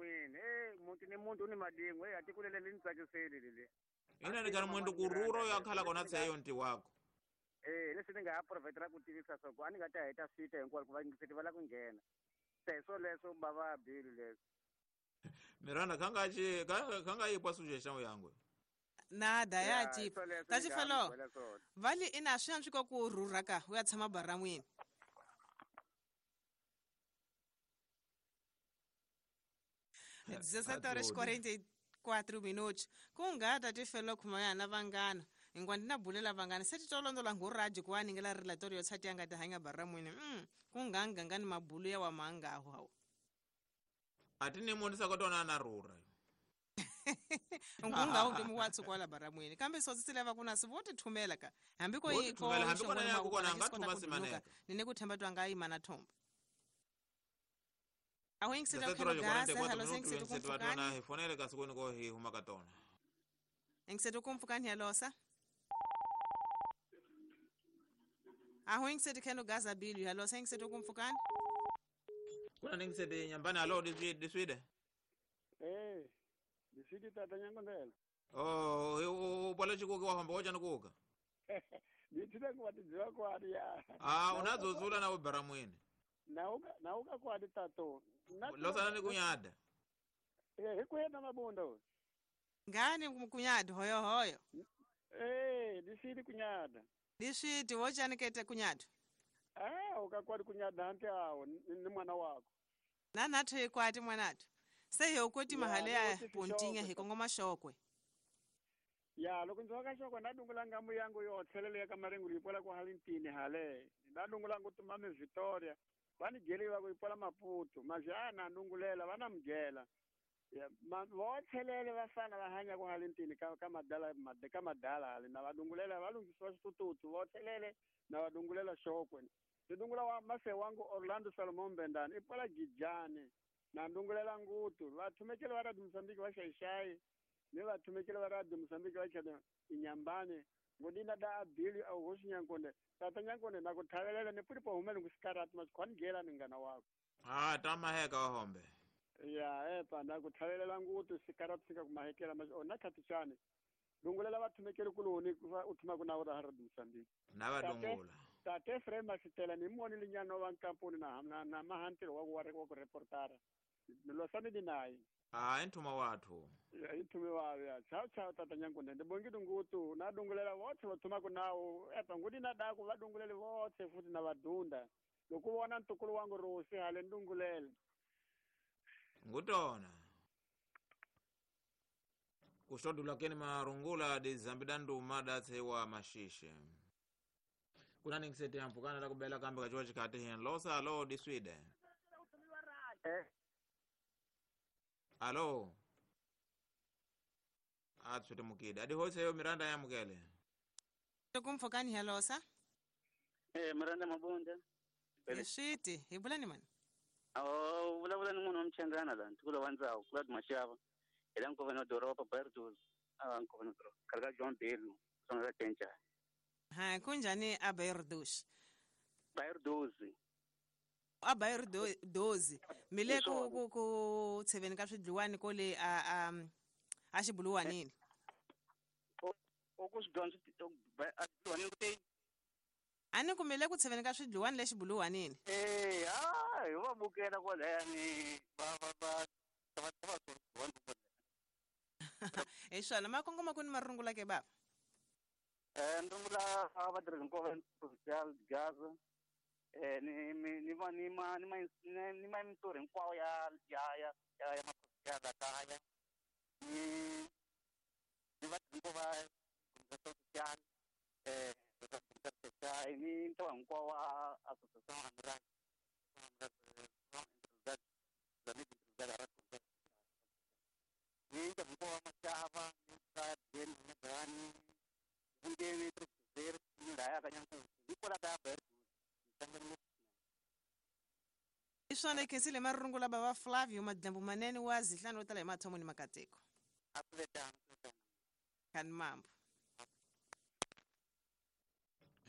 baramwini. Muntu ni muntu ni madingo, atikulele ni tsakiseli lele. Ina ni kana mwendo kururo ya khala kona tseyo nti wako. Leswi ni nga ha provide ku tivisa swa ku a ni nga ta heta swita hinkwako ku va ngiseti va la ku nghena. Se swo leswo bava bill leswo. Miranda kanga yipwa suggestion yangu. Nada ya chipa. Tachifelo. Vali ina swi antswi ku rhurha ka u ya tshama baramwini. 17h44 minutos. Kungata tifelo khumaya na vangana. Ingwandi na bulela vangana. Se titolondola nguraji kwa ningela relatorio tshati yanga tahanya baramwini. Kunganga ngani mabulu ya wa manga hao. Atini mondisa kotona na rura. Ngunga unge muwatsu kwala baramwini. Kambe sotsile va kuna sivote thumela ka. Hambiko iko hambiko na yako na ngathuma simaneka. Nine kuthemba twanga imana thomba. Awengiseta khona halo sengiseta kumfukani. Hifonele kasikoni ko hi huma katona. Engiseta kumfukani halosa. Awengiseta kheno gaza bilu halosa engiseta kumfukani. Kuna ningisete nyambani halo diswide. Diswide tata nyangondela. Oh, ubala chikuka wahamba wacha nikuka. Ndithile ngwatidziwa kwadi ya. Unazozula na ubaramwini. Nauka kwadi tato. Losana ni kunyada. Hikuenda mabondo. Ngani kunyada hoyo hoyo. Diswide kunyada. Diswide wochani kete kunyada. Ukakwadi kunyada hanti awo ni mwana wako. Na natho ikwati mwanatho. Sehe ukoti mahale ya pontinga hikongoma shokwe. Ya loko nzoka shokwe ndadungula ngamu yangu yo thelele ya kamarengu lipola kwa halintini hale. Ndadungula ngutumame Victoria. Vani geliwa kuipola Maputo. Majana ndungulela vana mgela. Ya vothelele vafana vahanya kwa halintini kama dala kama dala hale na vadungulela valungiswa xitututu vothelele na vadungulela shokwe. Ndungula wa mase wangu Orlando Salomon Bendani ipola Gijani. Na ndungulela ngutu vathumekele va Radio Mozambique va xaixai ni vathumekele va Radio Mozambique va chana inyambane ngodina da abili au hosi nyankonde tata nyankonde na ku thavelela ni puri po humele ngusikarati masikhwanigela ni ngana wako. Tamaheka wahombe. Ya epa na ku thavelela ngutu sikarati sika kumahekela mas ona khatichane ndungulela vathumekele kuloni u thuma ku na ra Radio Mozambique na vadungula. Tate Frema Sitela ni moni linyano wa nkampuni na mahantiro wa ku reportara. Nilosani dinayi. Intuma wathu. Ya intume wawe ya. Chao chao tata nyankonde. Ndibongi dungutu na dungulela wote vathuma ku nawo. Epa ngudi na daku vadungulele wote futhi na vadunda. Lokuwona ntukulu wangu Rosi hale ndungulele. Ngutona. Kushodula keni marungula de zambidandu mada tsewa mashishe. Kuna ningisete yampukana la kubela kambe kachuwa chikati hin losa alo diswide. Alo. Atswete mukide. Adi hose yo Miranda ya mukele. Tukumfokani halosa? Miranda Mabonda. Yeshiti, ibulani man. Oh, vulavula ni munhu wa Mchangana la, ntukulu wa Ndzhawu, Claude Mashava. Ela nkova no doroba Bertus. Nkova no doroba. Karga John Belu, sona la Tenja. Ha, kunjani a Bertus? Bertus. A Bertus. Mile ku tsheveni ka swidliwani kole a xibuluwanini. O ku swidliwani a xibuluwanini ku Ani kumele ku tsheveni ka swidliwani le xibuluwanini. Hi va bukela kwalani va Hi swona makongoma ku ni marungula ke baba. Ndungula vatirhi hinkwavo provincial Gaza. Ni ma mintirho hinkwawo ya ya maprovincial la kaya. Ni vatirhi hinkwavo va social ni ntlawa hinkwawo wa association amrad ni ntlawa hinkwawo wa Mashava ni ka Jane Mgani vungeni Trixer ni laya ka Nyankuku ni kwala ka Bertu. Iswana ikhensile marungula baba Flavio Madlambu manene wa zihlanu tala emathomo ni makateko. Kan mambo.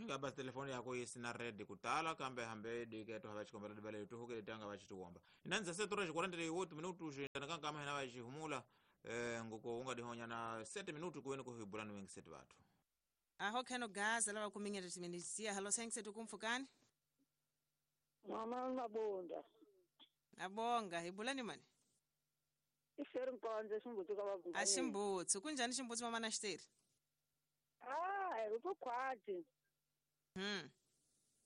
Ngaba telefoni yako isina red kutala kambe hambe diketo hava chikombela dibale tuhuke tanga vachituomba. Inanza setora 48 minutos Kankama hina vajihumula ngoko unga dihonya na 7 minutu kuweni kuhibulani wengi setu watu. Aho keno gaza lava kuminga timinizia halo sengse tukumfukani. Mama mabonda. Abonga hibulani mani. Iferi nkonze simbutsi ka vavungani. Ashimbutsi kunjani ximbutsi mama na xiteri? Ah, ri ku khwati.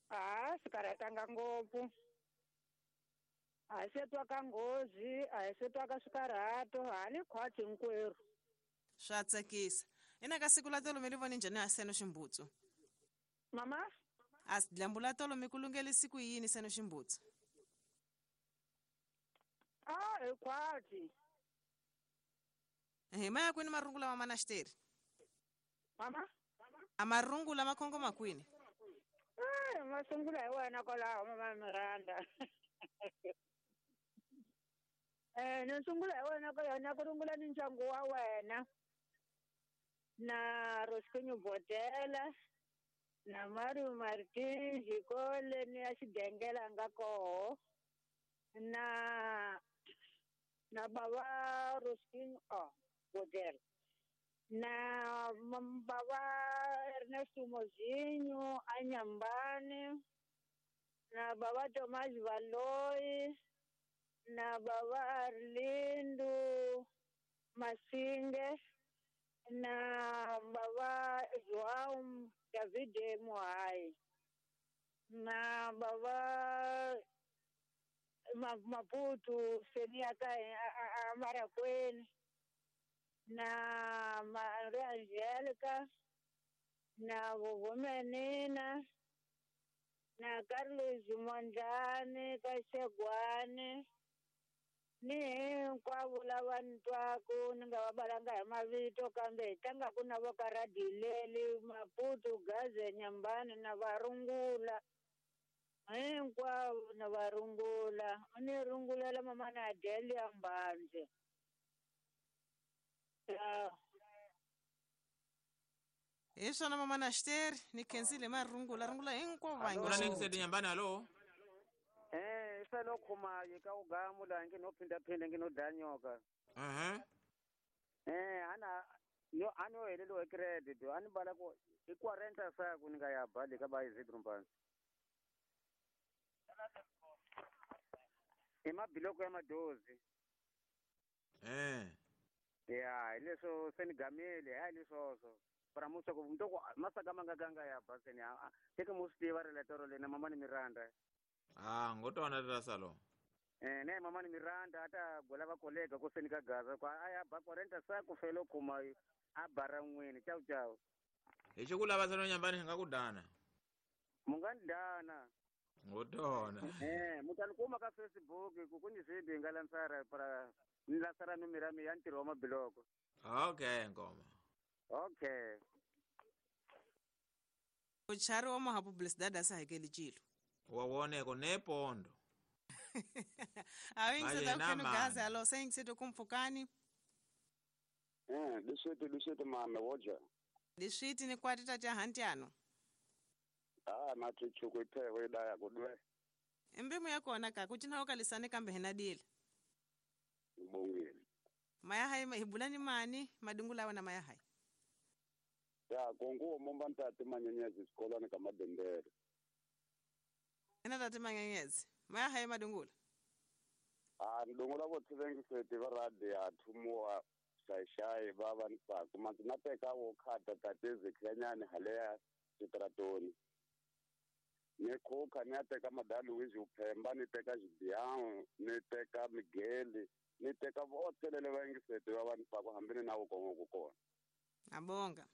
Ah, swi karhatanga ngopfu. A hi se twa ka nghozi, a hi se twa ka swikarhato, ha ni khwati hinkwerhu. Swa tsakisa. Ina ka siku la tolo mi ri voni njhani a seno ximbutsu? Mama? A dyambu la tolo mi ku lungele siku yini seno ximbutsu? Ah, hi khwati. Hi maya kwini marungula mama na xiteri? Mama? A marungula ma khongoma kwini? Eh, masungula hi wena kwalaho mama Miranda. Eh, ni sungula hi wena kwalaho na ku rungula ni ndyangu wa wena. Na Roskinyo Botela, na Mario Martins, Jikole ni ya xigengela nga koho. Na baba Roskinyo Botela. Na baba Ernesto Mozinho Anyambani, na baba Tomás Valoi, na baba Arlindo Masinge, na baba João David Moai, na baba Maputo Seniaka Marakwene, na Maria Angélica, na vovó Menina, na Carlos Mondlane ka Xegwane, ni hinkwavo lava ni twaku ni nga va balanga hi mavito kambe hi tlangaku na vo ka Radileli, Maputo, Gaze, Nyambani na varungula hinkwavo na varungula. Ni rungulela mama na Adelia Mbandze. Hi swona mama na xiteri ni khensile marungula rungula hinkwavo va Kuna ningi seti nyambani halo? Eh, selo khumayi ka ugamu la ngi no phinda phinda ngi no danyoka. Eh, ana yo ano helelo credit ani bala ko i 40 sa ku ninga ya bali ka ba Isidro Mpanzi. Emabiloko ya madozi. Eh. Ya, leswo senigamele hayi leswo para musa ku mntoko masaka manga ganga ya baseni a teke musi va relatoro lena mama ni Miranda. Ah, ngotona tata salo. Eh, ne mama ni Miranda ata gola va kolega ko senika gaza kwa aya ba 40 sa ku felo kuma a bara n'wini chau chau. Hi xikula va salo nyambani hi nga ku dana. Mungandana. Ngotona. Eh, mutanikuma ka Facebook ku kunyi swibi nga lantsara para nilasara numirami ya ntirho wa mabiloko. Okay, ngoma. Okay. Uchari wa maha publicidade asa hakeli chilo. Wawoneko nepondo. Awingi seta gaza alo saying seto kumfukani. Eh, diswiti mame woja. Diswiti ni kwati tata hantiano. Ah, mati chuku ipewe idaya kudwe. Embimu yako onaka kuchina okalisane kambe henadile. Mbongile. Maya hai hibulani mani madungula wana maya hai. Ya konguo momba ntate manyenyezi sikolani kama bendera. Ena tate manyenyezi. Maya hai madungula. Ah, ndungula botse bengiseti ba radio athumuwa shaishai baba ntsako manzinateka wo khata tate zekhanyane haleya sitratoni. Ni khoka ni ateka madali wizi uphemba ni teka xibiyango ni teka migeli ni teka votselele va yingiseti va vanhu va ku hambini na wukongo ku kona. Abonga.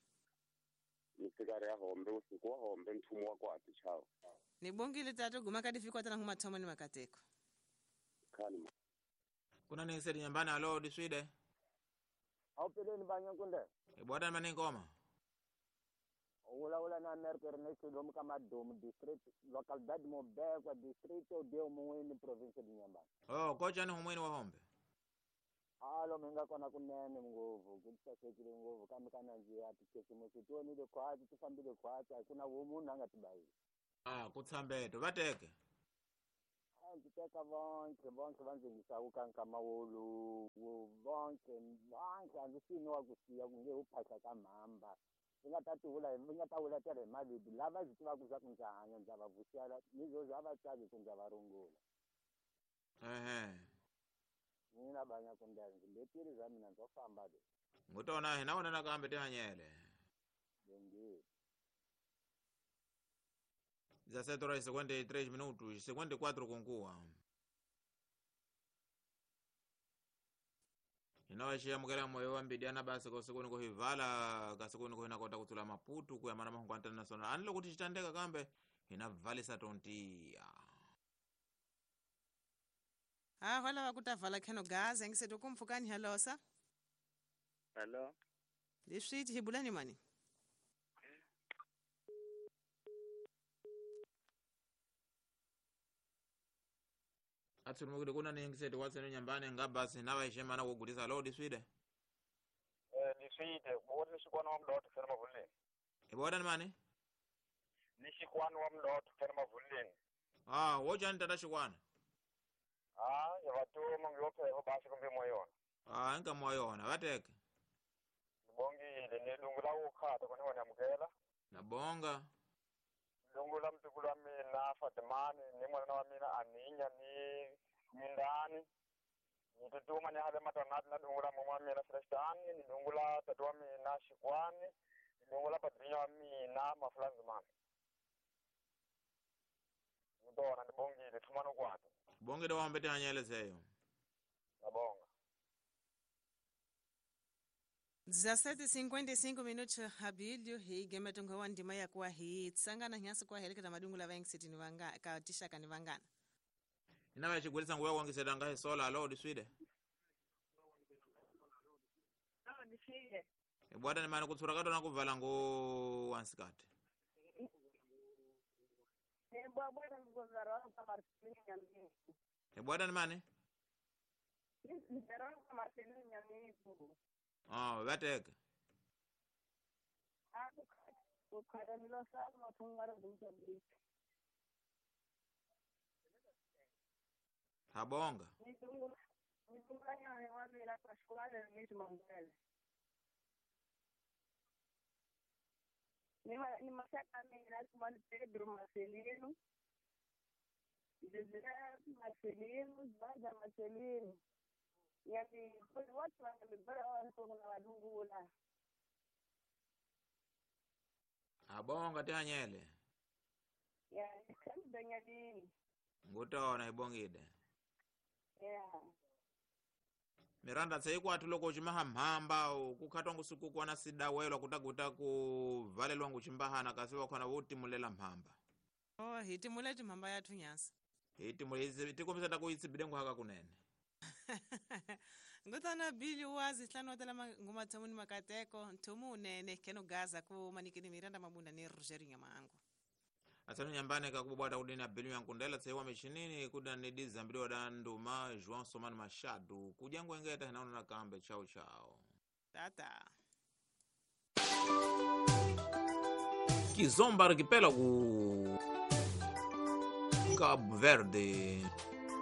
Ni fika ri ya hombe usiku wa hombe nthumo wa kwati chao. Ni bongile tatu guma kadi fika tana huma thomo ni makateko. Khani. Kuna ni sedi nyambani alo diswide. Au peleni banya kunde. Ibwada mani ngoma. Ula ula na America Ernesto Domo kama Domo district localidade Mobekwa distrito de Umuweni province de Inhambane. Oh, kocha ni humweni wa hombe. Alo menga kona kunene nguvu kutisasekile nguvu kambe kana nje ati tionile khwatsi tifambile khwatsi akuna womunhu angatibayile. Ah, kutsambeto vateke. A ndzi teka vonke vonke va ndzi yingisaku ka nkama wolowo Bonke bonke a ndzi swi wa ku siya ku nge u phahla ka mhamba vi nga ta tivula vi nga ta vulatela hi mavito lava byi tivaka swa ku ndza hanya ndza va vuxela ni zozo a va tsaki ku ndza va rungula. Ehe. Mina banya ku ndlela ndzi letile bya mina ndzo famba le. Ngutona hina wona nakambe tihanyele. Bongile. 17 horas e 53 minutos, 54 kunkuwa. Inawaxiyamukela moyo wa mbidyana basi kausiku kuhivala kasiku niko hinakota kutsula Maputo kuya mana mahungu international ani loko tixitandeka kambe hina valisa tontiya. Ha va lava ku ta vala kheno gaza ngiseto kumpfukani halosa. Hello. Leswi hi bulani mani. Atsulumukile kuna ni ngiseto watsene nyambani ngabasi navaixemana kugulisa lo diswide. Niswide bona ni xikwana wa mlotho fela mavuleni. Hi vona ni mani? Ni xikwana wa mlotho fela mavuleni. Ah, wo jani tata xikwana? Ah, ya vatuma ngiyophe basi kumbe moyona. Ah, nka moyona vateke. Ngibongile ni lungu la ukhata kona wona amukela. Nabonga. Lungu la mtukulu wa mina Fatimani ni mwana wa mina Aninya ni Mindani. Nitutuma ni hale matanati na lungu la mama wa mina Celestani ni lungu la tatu wa mina Xikwani ni lungu la padrinho wa mina Mafulanzimani. Ngitona ndibongile thumano kwakhe. Bongile wambe tihanyelezeyo. Nabonga. 17:55 minutos habilio hi gemetongo wa ndima ya kwa hi tsangana nyasi kwa heleketa madungu la vaingiseti ni vanga ka tishaka ni vangana. Inava xigwilisa nguya wangiseta nga hisola alo diswide. Alo diswide. Ibwata ni mani kutsura katona kuvala ngo wansikati. Ibwata mgozaro kwa Marcelino Nyamiku. Ibwata ni mani? Mgozaro kwa Marcelino Nyamiku. Ah, vateke. Habonga. Ni mashaka mina kuma Pedro Marcelino. José Marcelino, Zaza Marcelino. Yani watu wanamibara watu na wadungula. Abonga tihanyele. Ya kandanyalini. Ngutona ibongide. Yeah. Miranda tseyikwathu loko cimahamhamba kukhatwa ngusuku kwana sidawelwa kutakuta kuvalelwa ngucimbahana kasi wakhona votimulela mhamba. Oh, hi timule timhamba yathu nyasi. Hi timule tikombisa ta ku yi tsibile nguhaka kunene. Ngutana Billy wazi hlano tala ngoma thamuni makateko nthumu nene keno gaza ku manikini Miranda Mabunda ni Roger Nyamango. Atsano nyambane ka kubwata kudina Billy yankundela tsewa michinini kuda ni dizambiwa da nduma João Somani Machado kujangu engeta hinaona na kambe chao chao. Tata. Kizomba arquipélago Cabo Verde.